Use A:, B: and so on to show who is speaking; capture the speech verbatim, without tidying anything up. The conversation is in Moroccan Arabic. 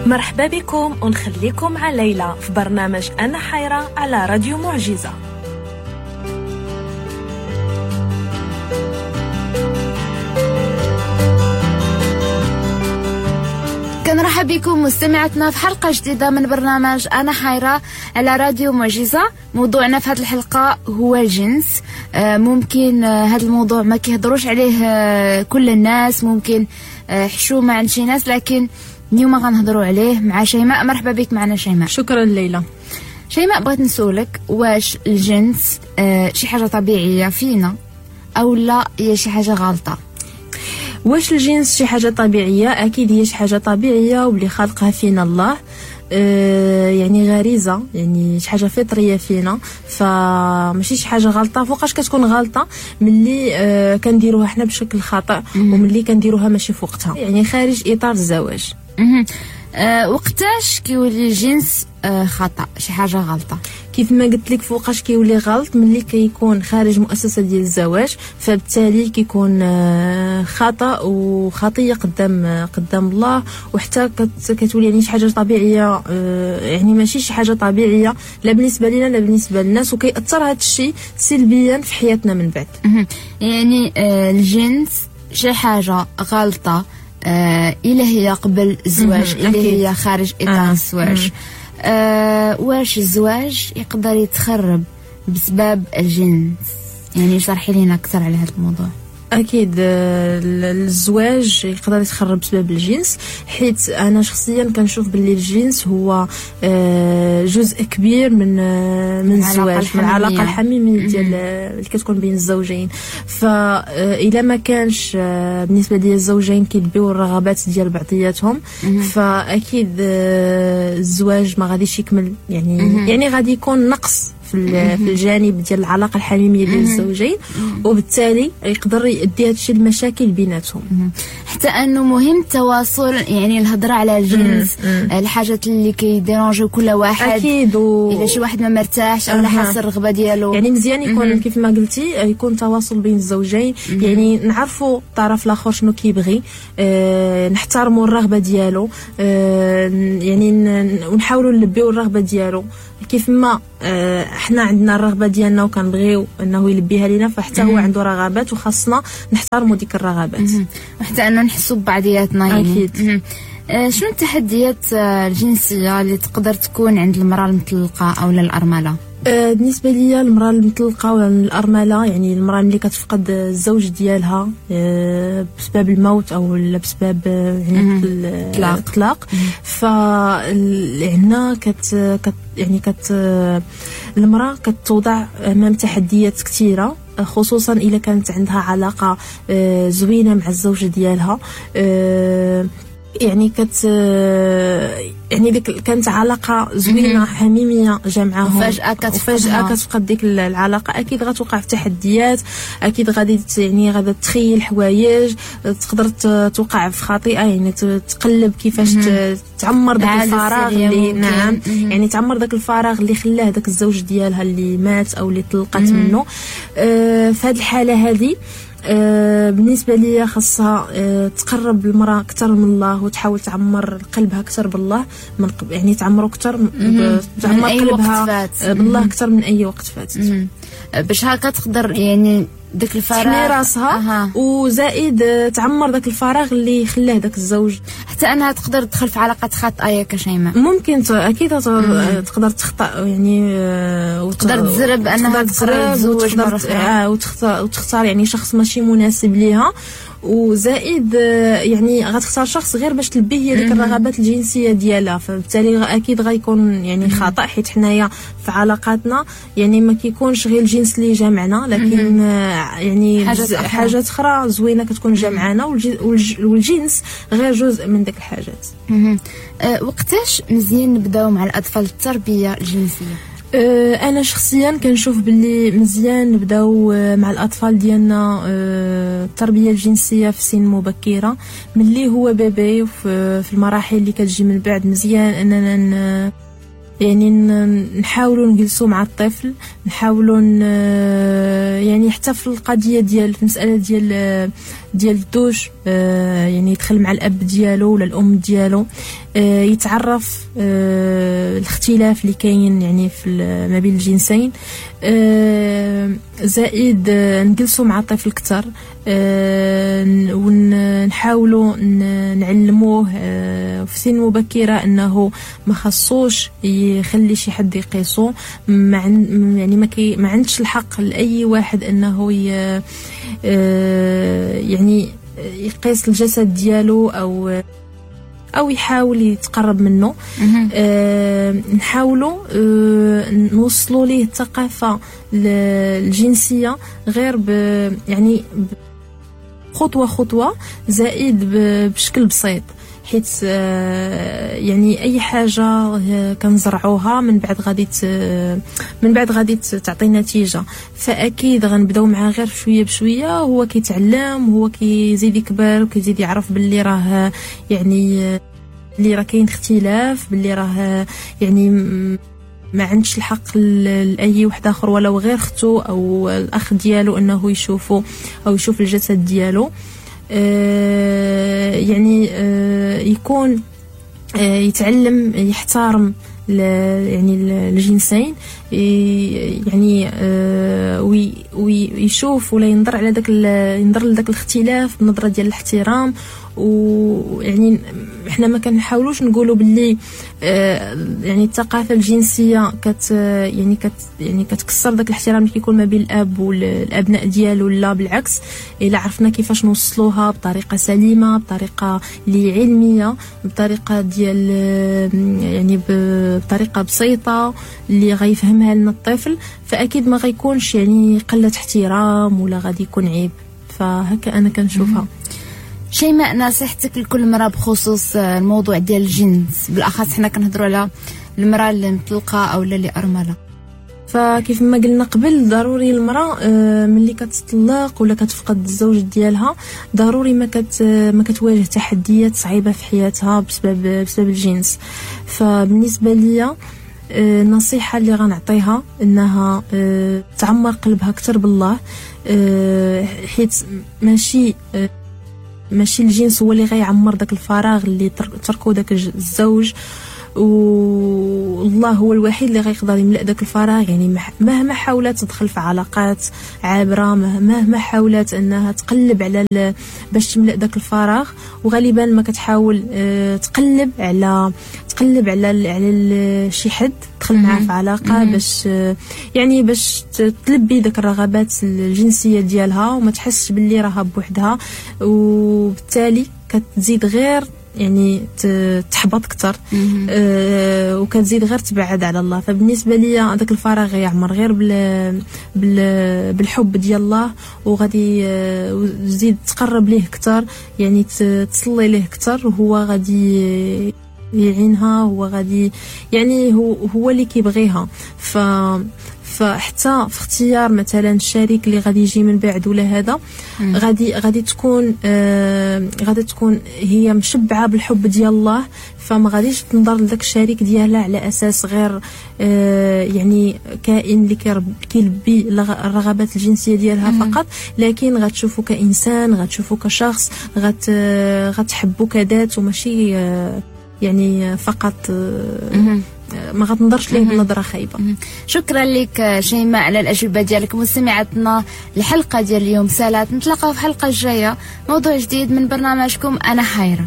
A: مرحبا بكم ونخليكم مع ليلى في برنامج أنا حيرة على راديو معجزة.
B: كنرحب بكم مستمعتنا في حلقة جديدة من برنامج أنا حيرة على راديو معجزة. موضوعنا في هذه الحلقة هو الجنس. ممكن هذا الموضوع ما كيهضروش عليه كل الناس، ممكن حشومة عند شي ناس، لكن اليوم غنهضروا عليه مع شيماء. مرحبا بك معنا شيماء.
C: شكرا ليلى.
B: شيماء، بغيت نسولك، واش الجنس شي حاجة طبيعية فينا أو لا هي شي حاجة غلطة؟
C: واش الجنس شي حاجة طبيعية؟ أكيد هي شي حاجة طبيعية واللي خلقها فينا الله، آه يعني غريزة، يعني شي حاجة فطرية فينا، فماشي شي حاجة غلطة. فوقاش كتكون غلطة؟ ملي آه كنديروها حنا بشكل خطأ، وملي كنديروها ماشي في وقتها، يعني خارج إطار الزواج.
B: أه وقتاش كيولي الجنس أه خطأ، شي حاجة غلطة؟
C: كيف ما قلت لك، فوقاش كيولي غلط؟ ملي كيكون خارج مؤسسة ديال الزواج، فبالتالي كيكون خطأ وخطية قدام قدام الله، وحتى كتولي يعني شي حاجة طبيعية، يعني ماشي شي حاجة طبيعية لا بالنسبة لنا لا بالنسبة للناس، وكيأثر هذا الشيء سلبيا في حياتنا من بعد.
B: يعني الجنس شي حاجة غلطة آه، إلا هي قبل الزواج، إلا هي خارج إطار آه. الزواج. آه، واش الزواج يقدر يتخرب بسبب الجنس؟ يعني شرحي لنا أكثر على هذا الموضوع.
C: أكيد الزواج يقدر يتخرب بسبب الجنس، حيت أنا شخصيا كنشوف باللي الجنس هو جزء كبير من من الزواج، من العلاقة الحميمية ديال اللي كتكون بين الزوجين. فإلا ما كانش بالنسبة ديال الزوجين كيلبيو الرغبات ديال بعضياتهم، فأكيد الزواج ما غاديش يكمل، يعني يعني غادي يكون نقص في الجانب ديال العلاقة الحميمية ديال الزوجين، وبالتالي يقدر يؤدي هادشي لمشاكل بيناتهم.
B: حتى انه مهم التواصل، يعني الهضرة على الجنس، الحاجات اللي كيديرونجيو كل واحد.
C: اكيد، و...
B: الا شي واحد ما مرتاحش او حاس الرغبة ديالو،
C: يعني مزيان يكون كيف ما قلتي يكون تواصل بين الزوجين، يعني نعرفوا الطرف الاخر شنو كيبغي، أه نحترموا الرغبة ديالو، أه يعني ونحاولوا نلبيو الرغبة ديالو. كيف ما احنا عندنا الرغبة ديالنا وكنبغيو انه يلبيها لينا، فحتى هو عنده رغبات وخاصنا نحترموا ديك الرغبات،
B: وحتى انه نحسوا ببعضياتنا. يعني
C: اكيد.
B: آه شنو التحديات الجنسية اللي تقدر تكون عند المراة المطلقة او الارملة؟
C: آه بالنسبة ليا المراة المطلقة ولا الارملة، يعني المراة اللي كتفقد الزوج ديالها آه بسبب الموت او بسبب يعني الطلاق، فهنا كت, كت يعني كت المراة كتوضع امام تحديات كثيرة، خصوصا اذا كانت عندها علاقة آه زوينة مع الزوج ديالها، آه يعني كت يعني ديك كانت علاقة زوينة حميمية جامعاهم،
B: وفجاة
C: كتفجأة كتفقد ديك العلاقة، اكيد غتوقع في تحديات، اكيد غادي يعني غادا تخيل حوايج، تقدر توقع في خطيئة، يعني تقلب كيفاش تعمر داك الفراغ اللي نعم يعني تعمر داك الفراغ اللي خلاه داك الزوج ديالها اللي مات او اللي طلقت منه. آه في هذه الحالة هذه آه بالنسبة لي خاصها آه تقرب المراة اكثر من الله، وتحاول تعمر قلبها اكثر بالله، من يعني تعمرو اكثر، تعمر قلبها بالله اكثر من اي وقت فات،
B: باش هكا تقدر يعني داك الفراغ
C: تحمي راسها. أه. وزائد تعمر داك الفراغ اللي خلاه داك الزوج،
B: حتى انها تقدر تدخل في علاقات خاطئه يا شيماء.
C: ممكن اكيد تقدر تخطا، يعني
B: وتقدر تزرب انها تزوج مرة
C: اخرى، وتختار يعني شخص ماشي مناسب ليها، وزائد يعني غتختار شخص غير باش تلبي هي ديك الرغبات الجنسية ديالها، فبالتالي اكيد غيكون يعني خطا، حيت حنايا في علاقاتنا يعني ما كيكونش غير الجنس اللي جامعنا، لكن يعني حاجات اخرى زوينة كتكون جامعانا، والجنس غير جزء من ديك الحاجات.
B: أه وقتاش مزيان نبداو مع الاطفال التربية الجنسية؟
C: انا شخصيا كنشوف باللي مزيان نبداو مع الاطفال ديالنا التربية الجنسية في سن مبكرة، ملي هو bébé وفي المراحل اللي كتجي من بعد. مزيان اننا يعني نحاولوا نجلسوا مع الطفل، نحاولوا يعني حتى في القضية ديال في المسالة ديال ديال الدوش، يعني يدخل مع الاب ديالو ولا الام ديالو، يتعرف الاختلاف اللي كاين يعني في ما بين الجنسين. زائد نجلسوا مع الطفل اكثر ونحاولوا نعلموه في سن مبكرة انه ما خصوش يخلي شي حد يقيسو، ما يعني ما كي ما عندش الحق لاي واحد انه يعني يقيس الجسد ديالو او او يحاول يتقرب منه. أه نحاولوا أه نوصلوا ليه الثقافة الجنسية غير ب يعني خطوة خطوة، زائد بشكل بسيط، حيت يعني اي حاجة كنزرعوها من بعد غادي من بعد غادي تعطي نتيجة. فاكيد غنبداو معاه غير شوية بشوية، هو كيتعلم، هو كيزيد يكبر وكيزيد يعرف باللي راه يعني اللي راه كاين اختلاف، باللي راه يعني ما عندش الحق لاي واحد اخر ولو غير اختو او الاخ ديالو انه يشوفو او يشوف الجسد ديالو. آه يعني آه يكون آه يتعلم يحترم يعني الجنسين، يعني آه ويشوف ولا ينظر على داك ينظر لذاك الاختلاف بنظره ديال الاحترام. ويعني احنا ما كنحاولوش نقولوا باللي آه يعني الثقافة الجنسية كت يعني كت يعني كتكسر داك الاحترام اللي كيكون ما بين الاب والابناء ديالو، لا بالعكس، الا عرفنا كيفاش نوصلوها بطريقة سليمة، بطريقة اللي علمية، بطريقة ديال يعني بطريقة بسيطة اللي غيفهمها لنا الطفل، فاكيد ما غيكونش يعني قلة احترام ولا غادي يكون عيب. فهكا انا كنشوفها.
B: شيماء، نصيحتك لكل امرأة بخصوص الموضوع ديال الجنس، بالاخص حنا كنهضروا على المرأة اللي مطلقه او اللي ارملة؟
C: فكيف ما قلنا قبل، ضروري المرأة ملي كتطلق ولا كتفقد الزوج ديالها ضروري ما كت ما كتواجه تحديات صعيبة في حياتها بسبب بسبب الجنس. فبالنسبه ليا النصيحة اللي غنعطيها انها تعمر قلبها اكثر بالله، حيت ماشي ماشي الجنس هو اللي غيعمر داك الفراغ اللي تركو داك الزوج، والله هو الوحيد اللي غيقدر يملأ داك الفراغ. يعني مهما حاولت تدخل في علاقات عابرة، مهما حاولت انها تقلب على باش تملأ داك الفراغ، وغالبا ما كتحاول تقلب على تقلب على على شي حد تدخل معاه في علاقة باش يعني باش تلبي داك الرغبات الجنسية ديالها وما تحسش باللي راها بوحدها، وبالتالي كتزيد غير يعني تحبط اكثر، آه وكتزيد غير تبعد على الله. فبالنسبه ليا هذاك الفراغ يعمر غير بال بال بالحب ديال الله، وغادي تزيد تقرب ليه اكثر، يعني تصلي ليه اكثر، وهو غادي يعينها، هو غادي يعني هو هو اللي كيبغيها. ف فحتى في اختيار مثلا الشريك اللي غادي يجي من بعد ولا هذا، غادي غادي تكون آه غادي تكون هي مشبعة بالحب ديال الله، فما غاديش تنظر لذاك الشريك ديالها على اساس غير آه يعني كائن اللي كيلبي الرغبات الجنسية ديالها مم. فقط، لكن غتشوفو كانسان، غتشوفو كشخص، غت غتحبو كذات، وماشي آه يعني فقط آه ما غتنظرش ليه بنظره خايبة.
B: شكرا لك شيماء على الاجوبة ديالك. مستمعاتنا، الحلقة ديال اليوم سالات، نتلاقاو في الحلقة الجاية موضوع جديد من برنامجكم انا حيره.